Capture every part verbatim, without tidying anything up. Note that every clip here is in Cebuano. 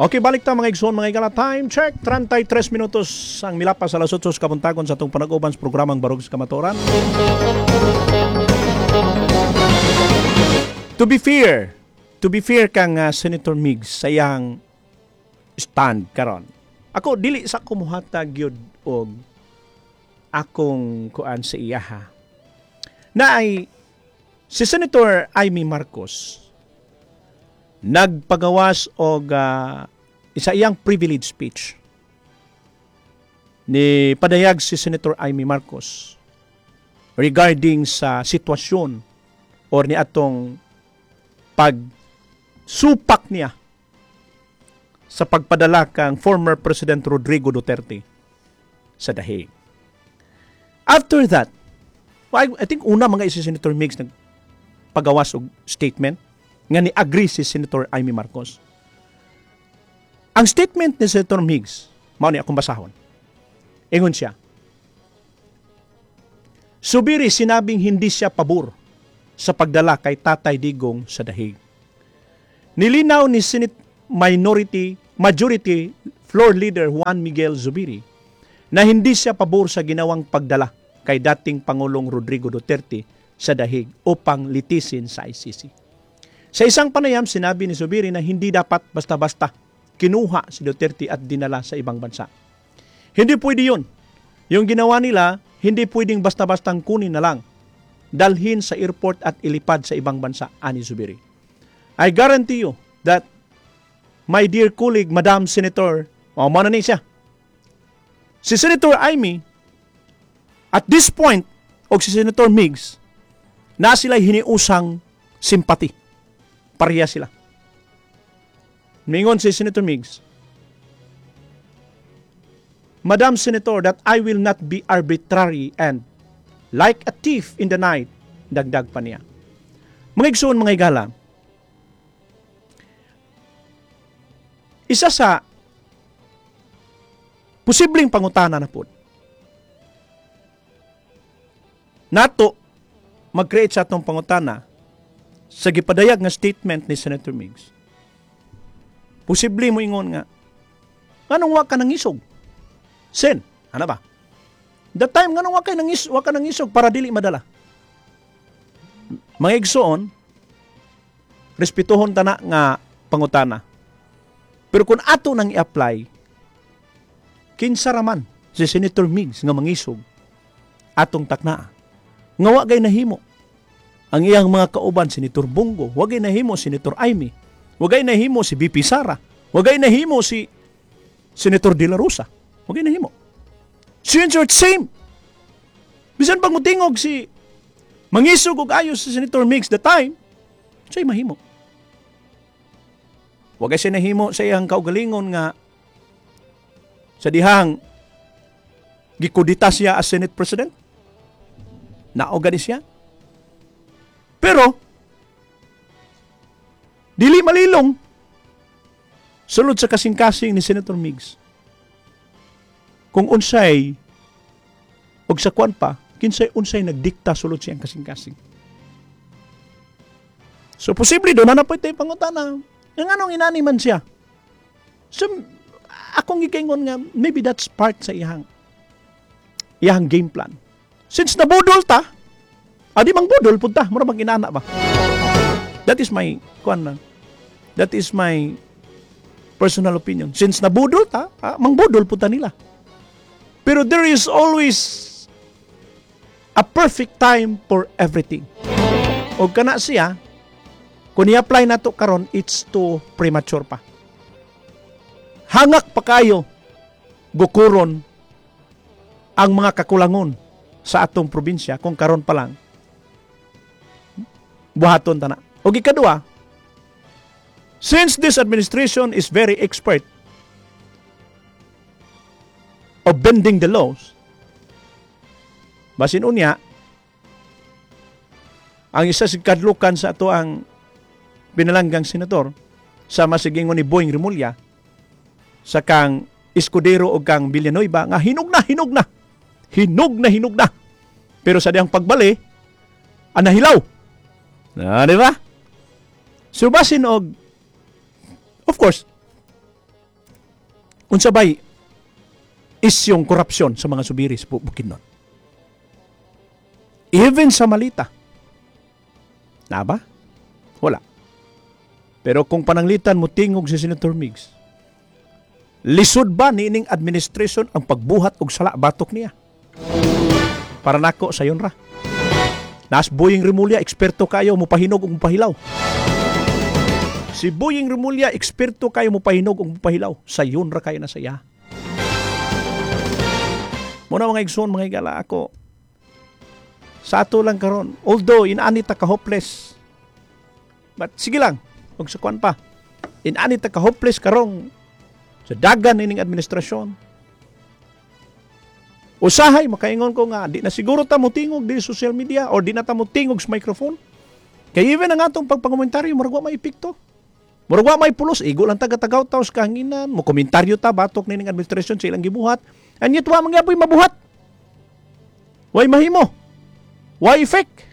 Okay, balik ta, mga igsoon, mga higala. Time check, trentay tres minutos ang milapas sa alas otso kabuntagon sa atong panag-uban sa programang Barog sa Kamatuoran. To be fair, to be fair kang uh, Senator Migs sa iyang stand karon. Ako, dili sa kumuhatag yun og akong kuan sa iyaha. Na ay si Senator Imee Marcos nagpagawas og uh, isa iyang privilege speech. Ni padayag si Senator Imee Marcos regarding sa sitwasyon or ni atong pagsupak niya sa pagpadala kang former President Rodrigo Duterte sa The Hague. After that, well, I, I think una mga si Senator Migs nagpagawas og statement nga ni-agree si Senator Imee Marcos. Ang statement ni Senator Migs, mao ni akong basahon. Ingon siya, "Zubiri sinabing hindi siya pabor sa pagdala kay Tatay Digong sa The Hague. Nilinaw ni Senate Minority Majority Floor Leader Juan Miguel Zubiri na hindi siya pabor sa ginawang pagdala kay dating Pangulong Rodrigo Duterte sa The Hague upang litisin sa I C C. Sa isang panayam, sinabi ni Zubiri na hindi dapat basta-basta kinuha si Duterte at dinala sa ibang bansa. Hindi pwede yun. Yung ginawa nila, hindi pwedeng basta-bastang kunin na lang. Dalhin sa airport at ilipad sa ibang bansa," ani Zubiri. "I guarantee you that my dear colleague, Madam Senator," oh, mao na ni siya. Si Senator Imee, at this point, o si Senator Migs, na sila hiniusang sympathy. Pareha sila. Mingon si Senator Migs, "Madam Senator, that I will not be arbitrary and like a thief in the night," dagdag pa niya. Mga igsoon, mga higala, isa sa posibleng pangutana na po, nato mag-create sa atong pangutana sa gipadayag nga statement ni Senator Migs. Posible mo ingon nga, "Nganong wa ka nangisog? Sen, ano ba? The time, nganong wa kay nangis wa ka nangisog para dili madala?" Mga igsoon, respetuhon tana nga pangutana. Pero kung ato nang i-apply, kinsa raman si Senator Migs nga mangisog atong taknaa nga wa gay nahimo ang iyang mga kauban, Senator Bong Go, wa gay nahimo Senator Imee, wa gay nahimo si V P Sara, wa gay nahimo si Senator De La Rosa, wa gay nahimo. Since same. Bisan pag mutingog si mangisog og ayos si Senator Migs the time, siya'y mahimo. Wa gay siya nahimo sa iyang kaugalingon nga sa dihang gikudita siya as Senate President. Nao gani siya. Pero dili malilong sulod sa kasing-kasing ni Senator Migs. Kung unsay og sa kwan pa, kinsay unsay nagdikta sulod siyang kasing-kasing. So posible do na na pwede pangutana. Nga nganong inani man siya? So akong giingon nga maybe that's part sa iyang iyang game plan. Since nabudol ta, adi mang budol pud ta, mura bang inana ba? That is my kuan na. That is my personal opinion. Since nabudol ta, ah, mangbudol pud ta nila. Pero there is always a perfect time for everything. O kana siya, kung i-apply nato karon, it's too premature pa. Hangak pa kayo gukuron ang mga kakulangon sa atong probinsya kung karon pa lang buhaton ta na. O ikadua, since this administration is very expert of bending the laws, basin unya, ang isa sa kadlukan sa ato ang pinalanggang senador sa masigingon ni Boying Remulla sa kang Escudero o kang Villanueva nga hinog na, hinog na. Hinog na, hinog na. Pero sa diyang pagbali, ang nahilaw. Na, di ba? So basin og, of course, Unsa bay isyong korupsyon sa mga Zubiri sa Bukidnon? Even sa Malita. Na ba? Wala. Pero kung pananglitan mo tingog si Senator Migs, lisod ba niining administration ang pagbuhat og sala batok niya? Para nako sayon ra. Nas Boying Remulla, eksperto kayo mupahinog ug mupahilaw. Si Boying Remulla, eksperto kayo mupahinog ug mupahilaw. Sayon ra kayo na saya. Muna, mga igsoon, mga higala, ako sa ato lang karon. Although inaani ta ka hopeless. But sige lang, ug sa kuan pa. Inaani ta ka hopeless karong sa dagan ining administrasyon. Usahay makaingon ko nga di na siguro ta motingog di social media or di na ta motingog sa microphone. Kay even ang atong pagpangomentaryo, murag wa may epekto. Murag wa may pulos, igo lang taga tagaw taw sa kahanginan, mo komentaryo ta batok nining administrasyon sa ilang gibuhat. And yet wa man gyapoy mabuhat. Way mahimo. Way effect.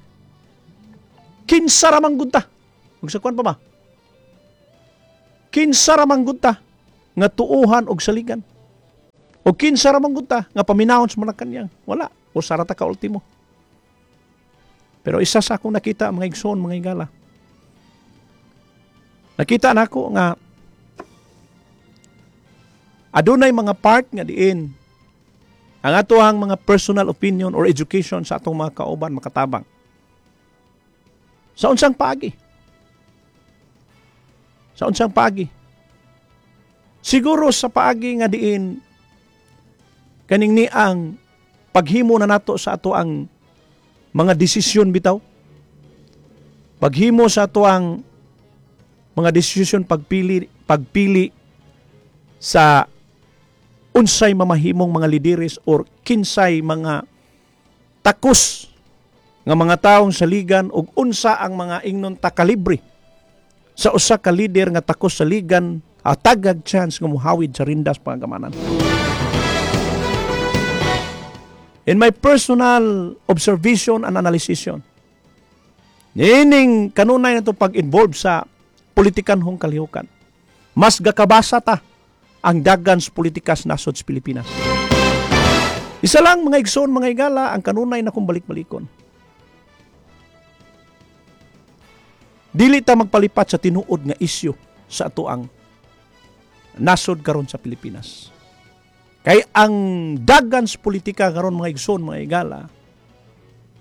Kinsa ra man gud ta? Ug sa kuan pa ba? Kinsa ra man gud ta nga tuuhan og saligan? O kinsa ra man gud ta nga paminawon sa Malacanang? Wala. Usa ra ta ka ultimo. Pero isa sa akong nakita, mga igsoon, mga higala. Nakita nako nga adunay mga part nga diin ang atoang mga personal opinion or education sa atong mga kauban makatabang. Sa unsang paagi? Sa unsang paagi? Siguro sa paagi nga diin kaning ni ang paghimo na nato sa ato ang mga desisyon bitaw. Paghimo sa ato ang mga desisyon, pagpili pagpili sa unsay mamahimong mga lideres or kinsay mga takos nga mga taong saligan ug unsa ang mga ingnon ta kalibre sa usa ka lider nga takos saligan at tagag chance nga muhawid sa rindas pangagamanan. In my personal observation and analysis, nining kanunay na pag-involve sa politikanhong kalihukan, mas gakabasa ta ang dagan sa politikas nasod sa Pilipinas. Isa lang, mga igsoon, mga higala, ang kanunay na kung balik-balikon. Dili ta magpalipat sa tinuod nga isyu sa ato ang nasod karon sa Pilipinas. Kay ang dagan sa politika karon, mga igsoon, mga higala,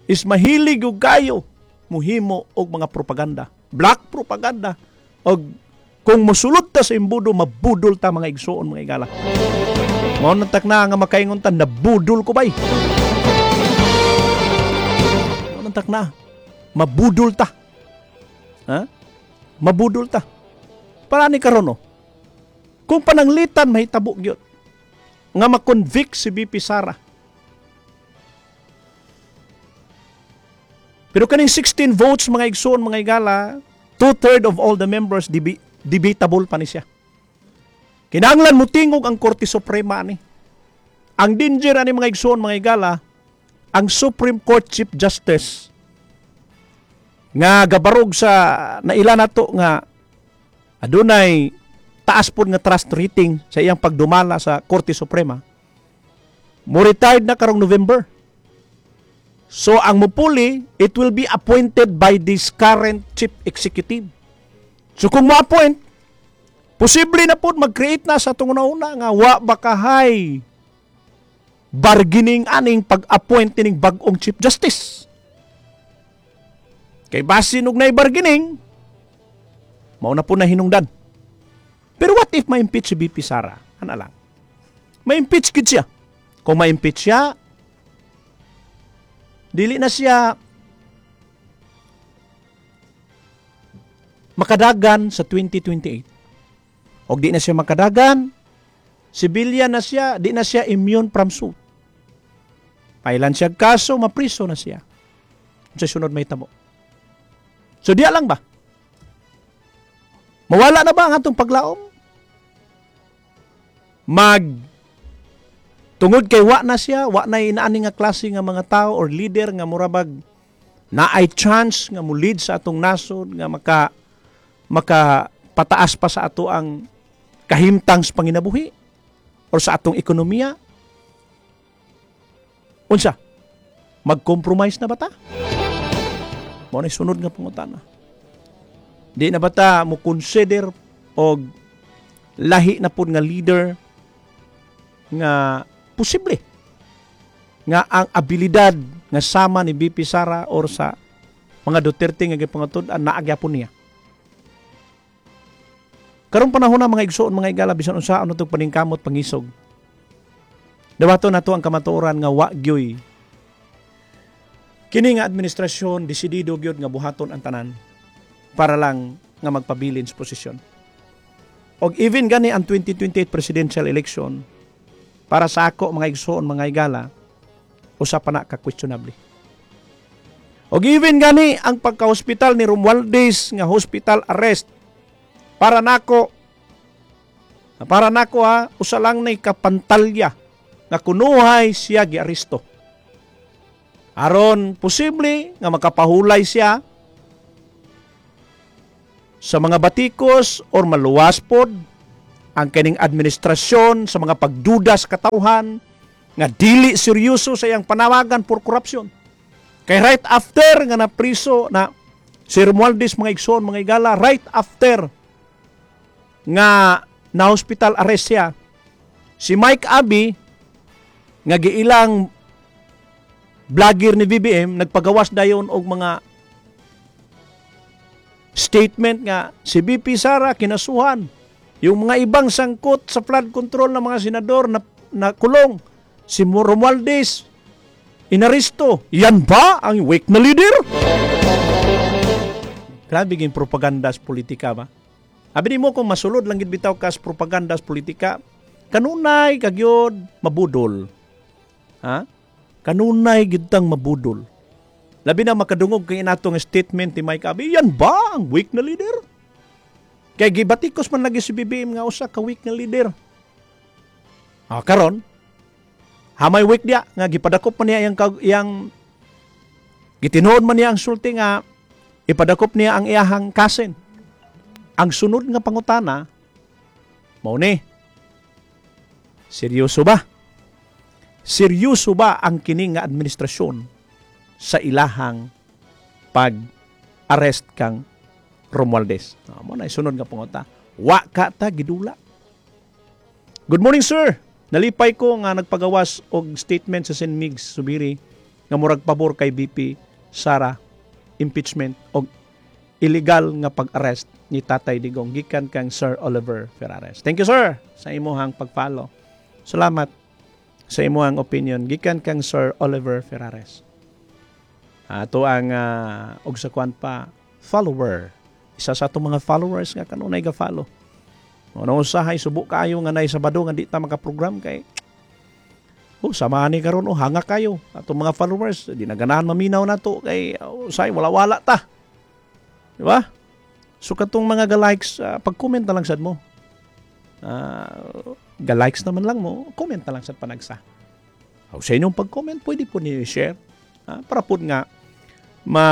is mahilig og kayo muhimo og mga propaganda, black propaganda, og kung musulod ta sa imbudo, mabudol ta, mga igsoon, mga higala. Mao na tak na nga makaingon ta, "Nabudol ko bay." Mao na tak na mabudol ta. Ha? Mabudol ta. Para ni karon, no? Kung pananglitan mahitabo gyud nga ma-convict si V P Sara. Pero kaning sixteen votes, mga igsoon, mga higala, two-third of all the members, debi- debatable pa ni siya. Kinahanglan mo tingog ang Korte Suprema ani. Ang danger ani, mga igsoon, mga higala, ang Supreme Court Chief Justice nga gabarog sa naila nato nga adunay taas pod nga trust rating sa iyang pagdumala sa Korte Suprema, mo retired na karong November. So ang mupuli, it will be appointed by this current chief executive. So kung mo-appoint, posible na pod mag-create na sa atong una nga wa bakahay bargaining aning pag-appoint ining bag-ong chief justice. Kay basin og nay bargaining, mao na po na hinungdan. Pero what if ma-impeach si V P Sara? Ana lang. Ma-impeach gid siya. Kung ma-impeach siya, dili na siya makadagan sa twenty twenty-eight. Og di na siya makadagan, civilian na siya, di na siya immune from suit. Pailan siya kaso, mapriso na siya. Sa sunod may tamo. So diya lang ba? Mawala na ba ang atong paglaom? Mag tungod kay wa na siya, wa na inaani nga klase nga mga tao or leader nga murabag naay chance nga mo lead sa atong nasod nga maka maka pataas pa sa ato ang kahimtang sa panginabuhi. Or sa atong ekonomiya? Unsa? Mag-compromise na ba ta? Mao na sunod nga pangutana. Di na ba ta mo consider og lahi na pud nga leader nga posible nga ang abilidad nga sama ni V P Sara or sa mga Duterte nga gipangatud-an naa gyapon niya? Karong panahon na, mga igsoon, mga igala, bisan unsa ano tong paningkamot pangisog. Dawato nato ang kamatuoran nga wa gyoy kini nga administrasyon desidido gyud nga buhaton ang tanan para lang nga magpabilin sa posisyon. Og even gani ang twenty twenty-eight presidential election, para sa ako, mga igsoon, mga igala, usa pa na ka questionable. Og even gani ang pagka-hospital ni Romualdez nga hospital arrest, para nako para nako ha, usa lang nay kapantalya nga kunuhay siya giaresto. Aron posible nga makapahulay siya sa mga batikos or maluwas pod ang kining administrasyon sa mga pagduda sa katawhan nga dili seryoso sa iyang panawagan for corruption. Kay right after nga napriso na si Romualdez, mga igsoon, mga igala, right after nga na hospital arrest siya, si Mike Abbey nga giilang vlogger ni B B M nagpagawas dayon og mga statement nga si V P Sara kinasuhan, yung mga ibang sangkot sa flood control ng mga senador na, na kulong, si Romualdez inaresto. Yan ba ang weak na leader? Grabe ging propaganda sa politika ba? Abi nimo kung masulod lang gid bitaw kas propaganda sa politika, kanunay kagyod mabudol. Ha? Kanunay gid tang mabudol. Labi na makadungog kay inatong statement ni Mike Abbey, yan ba ang weak na leader? Kay gibatikos man lagi si B B M nga usa ka weak na leader. Ah, karon hamay weak diya nga gipadakop man niya yang yang gitinuod man niya ang sulti nga ipadakop niya ang iyahang cousin. Ang sunod nga pangutana mao ni, seryoso ba? Seryoso ba ang kini nga administrasyon sa ilahang pag-arrest kang Romualdez? Ah, mao na sunod nga panguta. Wa ka ta gidula. Good morning, sir. Nalipay ko nga nagpagawas og statement sa Saint Migs Subiri nga murag pabor kay V P Sara impeachment og illegal nga pag-arrest ni Tatay Digong, gikan kang Sir Oliver Ferrares. Thank you, sir, sa imuhang pag-follow. Salamat sa imuhang opinion, gikan kang Sir Oliver Ferrares. Ato ang uh, og sa kwan pa follower. Isa sa atong mga followers nga kanunay ga-follow. Ano, usahay subo kaayo nga nay Sabado nga di ta maka-program kay oh, sama ni karon, oh, hanga kayo. Atong mga followers di na ganahan maminaw nato kay oh, usahay wala-wala ta. Di ba? So katong mga ga-likes, uh, pag-comment na lang sad mo. Uh, ga-likes naman lang mo, comment na lang sad panagsa. O sa inyong pag-comment, pwede po niyo i-share. Uh, para po nga ma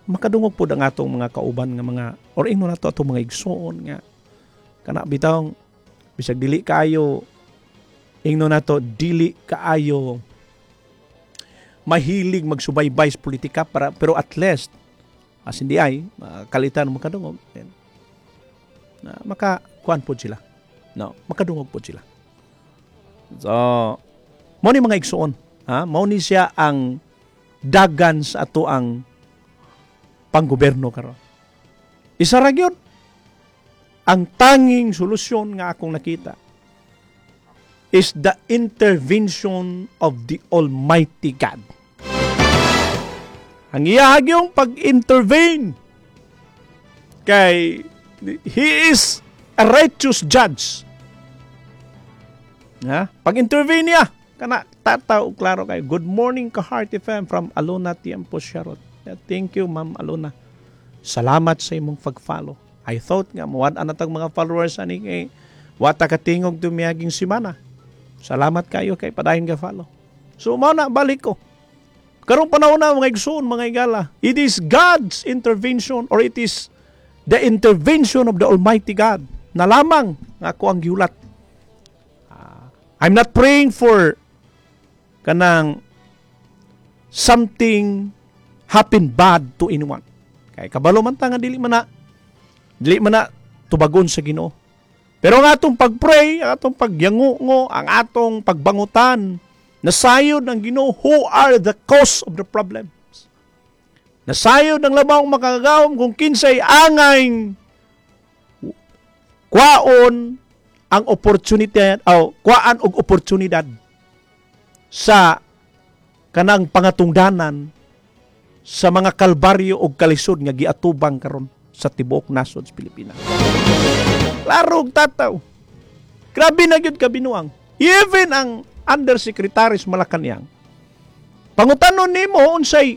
makadungog po ang atong mga kauban nga mga or ingno nato atong mga igsoon nga kana bitawng bisag dili kaayo, ingno nato, dili kaayo mahilig magsubaybay sa politika para pero at least as hindi ay kalitan makadungog then na maka kuan pod sila, no, makadungog pod sila. So mao ni, mga igsoon, ha, mao ni siya ang dagan sa ato ang panggoberno karon. Isa ra gyud ang tanging solusyon nga akong nakita is the intervention of the Almighty God. Ang iyahag yung pag-intervene kay He is a righteous judge. Ha? Pag-intervene niya, kana tataw klaro kay. Good morning ka Heart F M from Alona Tiempo Sharot. Thank you, Ma'am Alona. Salamat sa imong pag-follow. I thought nga muwad na tag mga followers ani kay wata katingog tumiyaging simana. Salamat kayo kay padayon ka follow. So mao na, balik ko. Karong panahon na, mga igsoon, mga igala, it is God's intervention or it is the intervention of the Almighty God na lamang nga ako ang gihulat. Ah, I'm not praying for kanang something happen bad to anyone. Kay kabalo man ta nga dili man na dili man na tubagon sa Ginoo. Pero ang atong pag-pray, ang atong pagyangungo, ang atong pagbangutan, nasayod ng Ginoo who are the cause of the problems. Nasayod ng Labawng Makagagahom kung kinsay angay kwaon ang opportunity o kwaan og oportunidad sa kanang pangatungdanan sa mga kalbaryo og kalisod nga giatubang karon sa tibuok nasod sa Pilipinas. Klaro og tataw. Grabe na gyud kabinuang. Even ang undersecretary sa Malacanang, pangutanon nimo unsay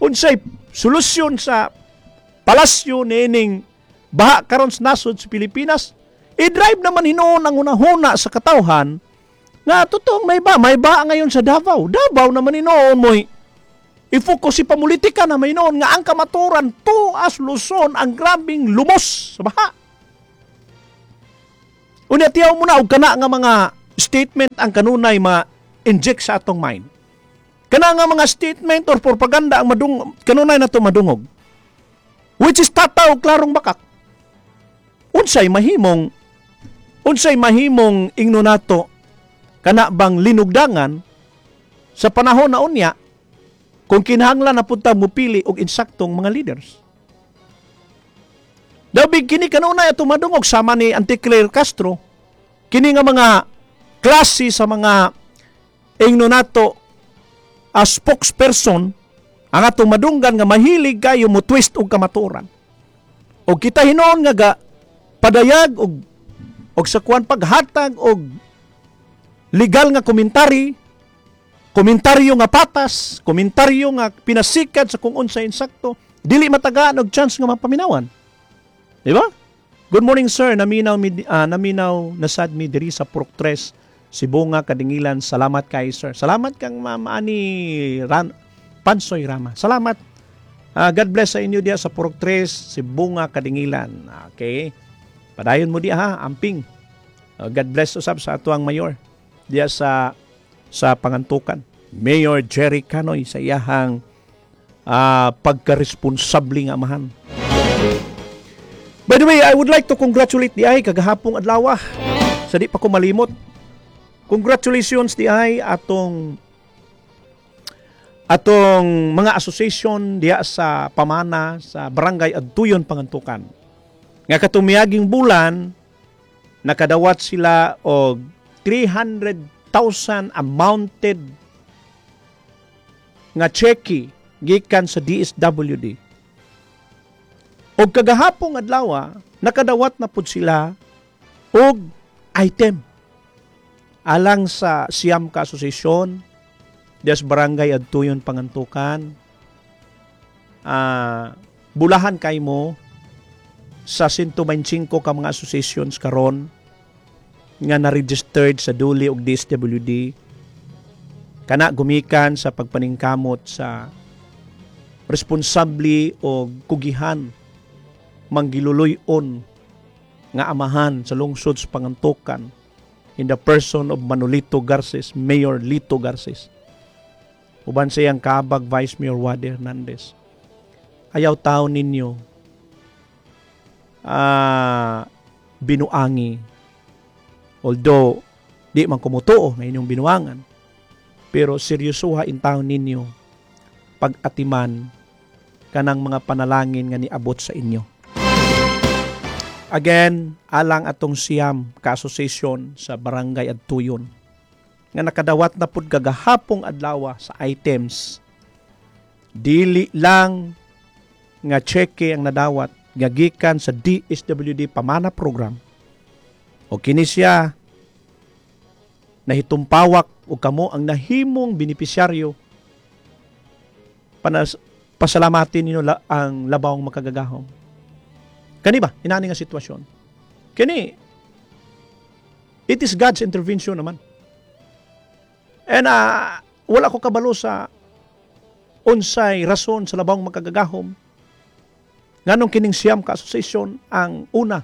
unsay solusyon sa palasyo niining baha karon sa nasod sa Pilipinas, i-drive naman hinuon ang hunahuna sa katawhan nga totoong may ba, may baha ngayon sa Davao. Davao naman hinuon mo i-focus si pamulitika na may hinuon nga ang kamaturan tuas Luzon ang grabing lumos sa baha. Unya, tiyaw mo na og kana nga mga statement ang kanunay ma-inject sa atong mind. Kana nga mga statement or propaganda ang madung kanunay nato madungog. Which is tataw klarong bakak. Unsay mahimong unsay mahimong ingno nato kana bang linugdangan sa panahon na unya kung kinahanglan na punta mupili og insaktong mga leaders? Dabig kini kanunay ato madungog sama ni Auntie Claire Castro, kini nga mga klase sa mga ingno nato a spokesperson ang atong madunggan nga mahilig kayo mo twist og kamatuoran. Og kita hinuon nga ga padayag og og sa kuan paghatag og legal nga komentary, komentaryo nga patas, komentaryo nga pinasikat sa kung unsay insakto, dili matagaan og chance nga mapaminawan. Di ba? Good morning, sir, naminaw mi ah, naminaw nasad mi diri sa Purok Tres, Sibonga, Kadingilan. Salamat kay sir. Salamat kang Ma'am Ani Ran, Pansoy Rama. Salamat. Ah, God bless sa inyo diya sa Purok Tres, Sibonga, Kadingilan. Okay. Padayon mo diya ha, amping. Ah, God bless usab sa atuang mayor diya sa sa Pangantukan. Mayor Jerry Canoy sa iyahang ah, pagkaresponsable nga amahan. By the way, I would like to congratulate di ay kagahapong adlaw. Sa di pa ko malimot. Congratulations di ay atong atong mga association diya sa Pamana sa Barangay Adtuyon, Pangantukan. Nga katong miaging bulan nakadawat sila og three hundred thousand amounted nga cheque gikan sa D S W D. Og kagahapong adlaw nakadawat na pud sila og item alang sa Siyam ka Association des Barangay Adtuyon, Pangantukan. Ah, bulahan kay mo sa one hundred twenty-five ka mga associations karon nga na-registered sa D O L E ug D S W D kana gumikan sa pagpaningkamot sa responsable o kugihan manggiluluy-on nga amahan sa lungsod sa Pangantukan in the person of Manolito Garces, Mayor Lito Garces. Uban sa iyang kaabag, Vice Mayor Wade Hernandez. Ayaw tao ninyo ah binuangi. Although, di man kumutuo na inyong binuangan, pero seryosoha in taon ninyo pag-atiman kanang mga panalangin nga niabot sa inyo. Again, alang atong Siyam ka association sa Barangay Adtuyon nga nakadawat na pud kagahapong adlaw sa items. Dili lang nga cheque ang nadawat nga gikan sa D S W D Pamana Program. O kini siya nahitumpawak o kamo ang nahimong benepisyaryo, panas, pasalamatin ninyo la, ang Labawng Makagagahom. Kani ba inani nga sitwasyon kini, it is God's intervention naman and uh, wala ko kabalo sa unsay rason sa Labawng Makagagahom nganong kining Siyam ka association ang una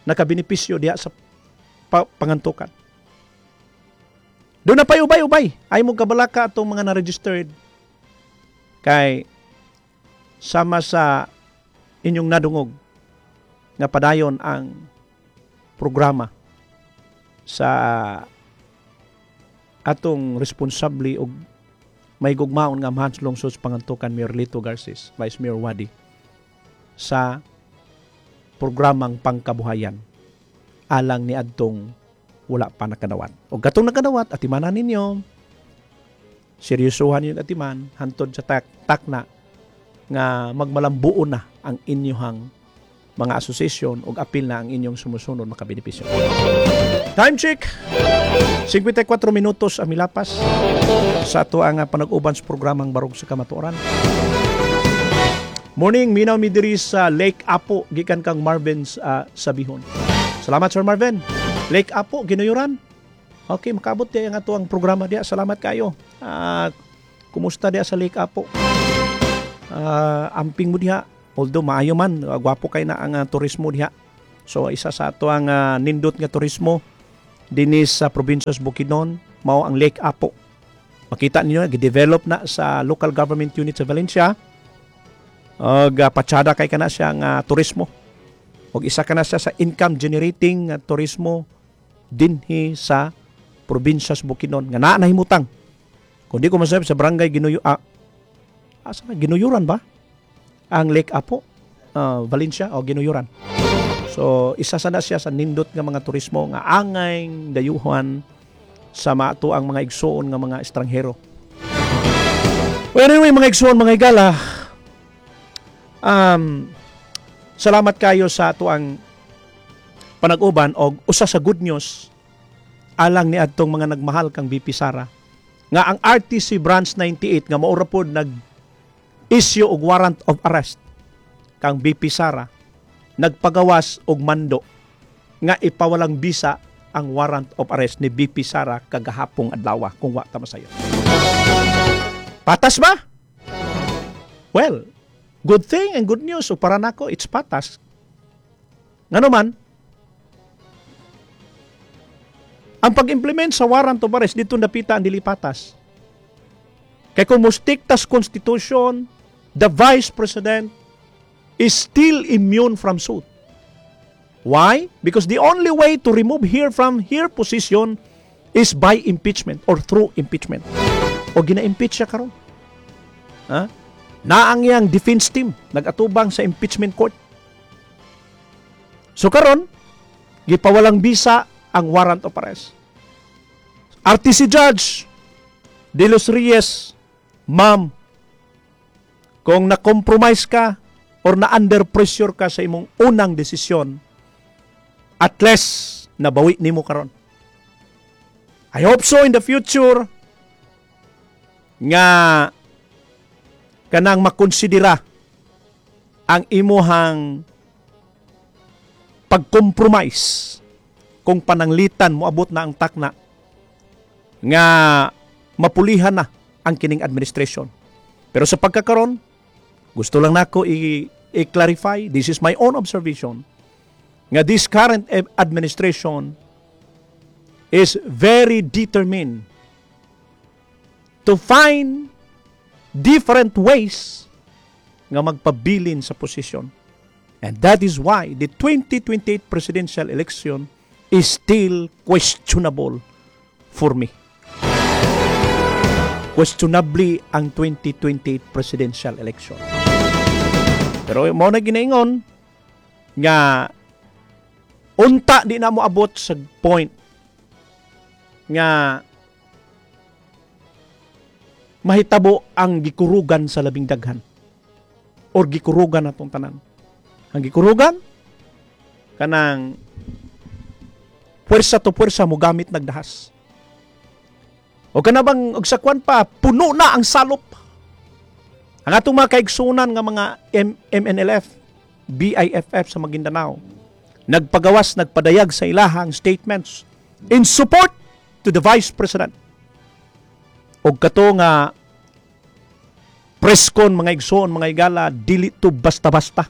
nakabenepisyo diha sa pa- Pangantukan. Duna pa'y ubay-ubay. Ayaw mo kabalaka atong mga na-registered kay sama sa inyong nadungog nga padayon ang programa sa atong responsable og may gugmaon nga amahan sa lungsod sa Pangantukan, Mayor Lito Garces, Vice Mayor Wadi, sa programang pangkabuhayan alang ni adtong wala pa nakadawat. O katong nakadawat, atimanan ninyo, seryosohan yung atiman, hantod sa tak takna nga magmalambuon na ang inyuhang mga asosasyon ug apil na ang inyong sumusunod makabenepisyo. Time check. singkwenta y kwatro minutos ang milapas sa ato ang panag-uban sa programang Barog sa Kamatuoran. Morning, minaw mi diri sa Lake Apo, gikan kang Marvin uh, Sabihon. Salamat, Sir Marvin. Lake Apo, Ginuyuran. Okay, makaabot diya ang ato ang programa diya. Salamat kayo. Uh, kumusta diya sa Lake Apo? Uh, amping mo diha. Although maayo man, uh, gwapo kay na ang uh, turismo diha. So isa sa ato ang uh, nindot nga turismo dinhi sa probinsya sa Bukidnon, mao ang Lake Apo. Makita niyo, gi-develop na sa local government unit sa Valencia. Og uh, patsada kay kana siya nga turismo. Og isa kana siya sa income generating uh, turismo dinhi sa probinsya sa Bukidnon nga naa nahimutang. Kung di ko masabi, sa barangay Ginuyo, ah, asa na Ginuyuran ba? Ang Lake Apo, uh, Valencia o Ginuyuran. So isa sa na siya sa nindot nga mga turismo nga angay dayuhan sa maato ang mga igsuon nga mga estranghero. Well, anyway, mga igsuon, mga higala, um, salamat kayo sa ato ang panag-uban og usa sa good news alang ni adtong mga nagmahal kang V P Sara nga ang R T C Branch ninety-eight nga maura pod nag issue og warrant of arrest kang V P Sara, nagpagawas og mando nga ipawalang bisa ang warrant of arrest ni V P Sara kagahapong adlaw, kung wa ta masayo. Patas ba? Well, good thing and good news. So para nako, it's patas. Ngano man, ang pag-implement sa warrant of arrest dito napita ang dili patas. Kay kung mo-stick tas Constitution, the Vice President is still immune from suit. Why? Because the only way to remove her from her position is by impeachment or through impeachment. O gina-impeach siya karon. Ha? Naang iyang defense team nag-atubang sa impeachment court. So karon, gipawalang bisa ang warrant of arrest. R T C Judge De Los Reyes, ma'am, kung na-compromise ka or na-under pressure ka sa imong unang desisyon, at least nabawi nimo karon. I hope so in the future nga kanang makonsidera ang imuhang pag-compromise kung pananglitan moabot na ang takna nga mapulihan na ang kining administration. Pero sa pagkakaron, gusto lang nako i- i-clarify, this is my own observation, nga this current administration is very determined to find different ways nga magpabilin sa posisyon. And that is why the twenty twenty-eight presidential election is still questionable for me. Questionably ang twenty twenty-eight presidential election. Pero mao na ginaingon nga unta di na mo abot sa point nga mahitabo ang gikurugan sa labing daghan or gikurugan atong tanan. Ang gikurugan, kanang puwersa to puwersa mo gamit nagdahas. O kana bang og sa kwan pa, puno na ang salop. Ang atong mga kaigsunan nga mga M- M N L F, B I F F sa Maguindanao, nagpagawas, nagpadayag sa ilahang statements in support to the Vice President. Og kato nga presscon, mga igsoon, mga igala, dili to basta-basta.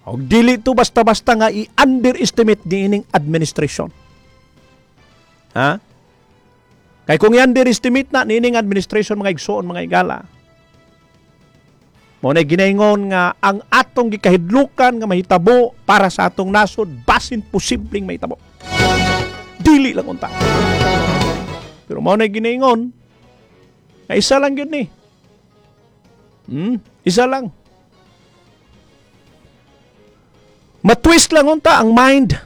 Og dili to basta-basta nga i-underestimate niining administration. Ha? Kay kung i-underestimate na niining administration, mga igsoon, mga igala, mao na ginaingon nga ang atong gikahidlukan nga mahitabo para sa atong nasod, basin posibleng mahitabo. Dili lang unta. Pero mao na ginaingon nga isa lang gyud ni. Hmm, isa lang. Matwist lang unta ang mind.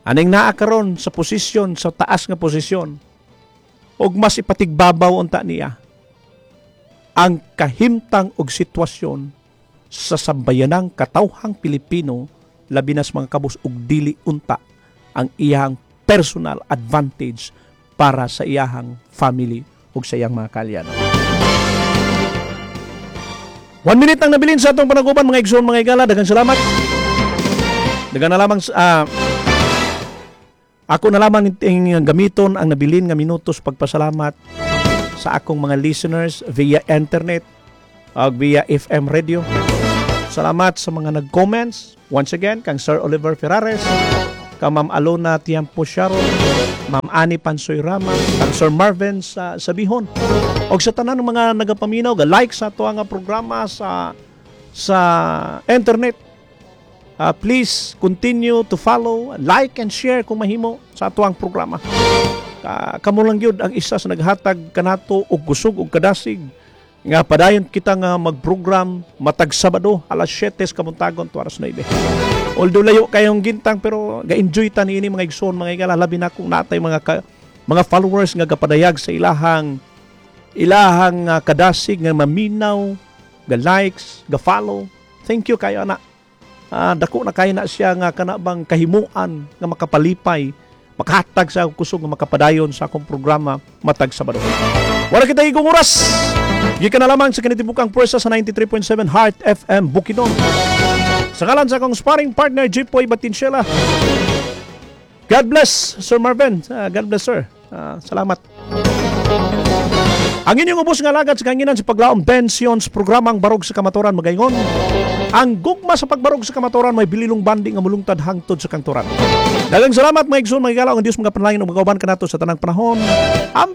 Aning naa karon sa posisyon, sa taas nga posisyon, og mas ipatigbabaw unta niya ang kahimtang og sitwasyon sa sambayanang katawhang Pilipino, labi na sa mga kabus, og dili unta ang iyang personal advantage para sa iyahang family ug sa iyang mga kaalyado. One minute ang nabilin sa atong panaguban, mga igsoon, mga igala. Daghang salamat. Daghang na lamang uh, ako na lamang ing gamiton ang nabilin nga minutos pagpasalamat sa akong mga listeners via internet ug via F M radio. Salamat sa mga nag-comments. Once again, kang Sir Oliver Ferrares, kang Ma'am Alona Tiampo Sharon, Ma'am Ani Pansoy Rama, kang Sir Marvin sa Sabihon. Og sa tanan ng mga nagapaminaw, ga-like sa ato nga programa sa sa internet. Uh, please continue to follow, like and share kung mahimo sa ato ang programa. Ka kamo lang gyud ang isa sa naghatag kanato og kusog og kadasig nga padayon kita nga magprogram matag Sabado alas siyete sa kamuntagon to alas nuwebe. Although layo kayong gintang, pero ga-enjoy ta niini, mga igsoon, mga igala, labi na kung natay mga ka, mga followers nga gapadayag sa ilahang ilahang uh, kadasig nga maminaw, ga likes, ga follow. Thank you kayo ana. Uh, dako na kayo na siya nga kana bang kahimuan nga makapalipay, makahatag sa akong kusog nga makapadayon sa akong programa matag Sabado. Wala kita igong oras. Gikan na lamang sa kinitibukang pwersa sa ninety-three point seven Heart F M Bukidnon. Sa ngalan sa akong sparring partner, Jipoy Batinsyela. God bless, Sir Marvin. Uh, God bless, sir. Uh, salamat. Ang inyong ubos nga alagad sa kahanginan sa paglaom Ben Sions, programang Barog sa Kamatuoran, magaingon. Ang gugma sa pagbarog sa kamatuoran may bililong bandi nga mulungtad hangtod sa kangturan. Daghang salamat, mga igsoon, mga igala, ang Dios mga panalangin ug magauban kanato sa tanang panahon. Ang